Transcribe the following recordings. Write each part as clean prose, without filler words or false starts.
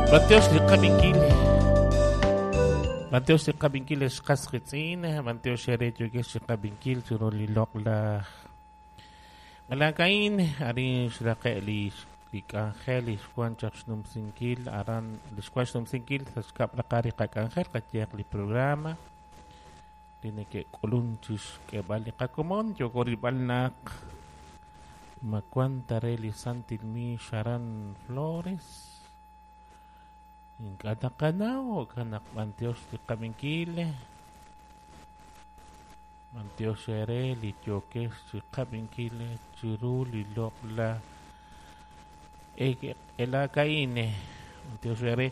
B'antiox li qab'inkil. B'antiox li qab'inkil ex qas qiitz'in, b'antiox eere yookex chi qab'inkil chiru li loq'laj Malakain, arin xraqe' li li k'anjel li xwan chaq xnumsinkil aran li xwan xnumsinkil sa' xkab' raqal li qak'anjel qayehaq li programa li neke'k'ulun chi xk'eeb'al li qakomon yooko rilb'al naq ma wan ta re li Santil Miix aran Flores ink'a' taqanaw jo'kan naq b'antiox li qab'inkil b'antiox eere li yookex chi qab'inkil chiru li loq'laj elakain b'antiox eere.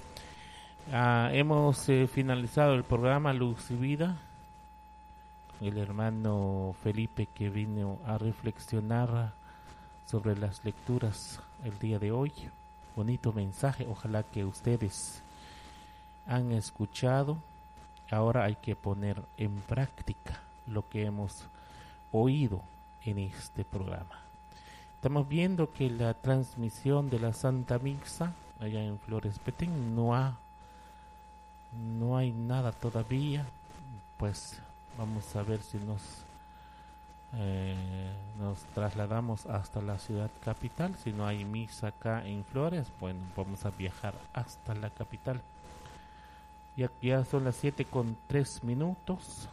Hemos finalizado el programa Luz y Vida con el hermano Felipe, que vino a reflexionar sobre las lecturas el día de hoy. Bonito mensaje, ojalá que ustedes han escuchado. Ahora hay que poner en práctica lo que hemos oído en este programa. Estamos viendo que la transmisión de la Santa Misa allá en Flores Petén no hay nada todavía. Pues vamos a ver si nos trasladamos hasta la ciudad capital. Si no hay misa acá en Flores, bueno, vamos a viajar hasta la capital. Ya son las 7:03.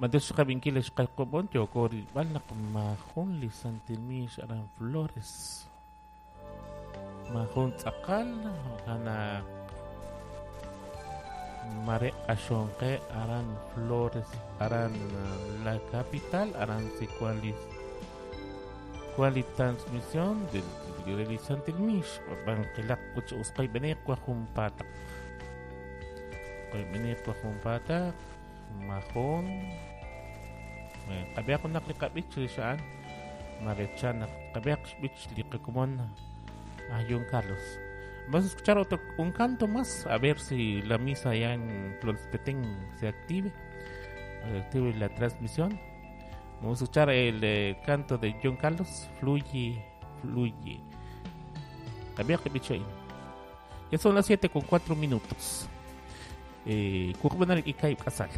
B'antiox qab'inkil ex qalqob'on yooko rilb'al naq maajun li Santil Miix aran Flores. Maajun tz'aqal jo'kan naq mare q'axonqe aran Flores, aran la capital, aran si cuál li transmisión del li Santil Miix. B'anqilaq uch usqay b'eniq wa junpaataq. B'eniq wa junpaataq majun. Qab'eq naq li qab'ich li xa'an marechan naq qab'eq xb'ich li qakomon a John Carlos. Vamos a escuchar otro un canto más, a ver si la misa allá en Flores Petén se active la transmisión. Vamos a escuchar el canto de John Carlos, Fluye, Fluye. Ya son las 7:04. Kukubanar ikay kasal.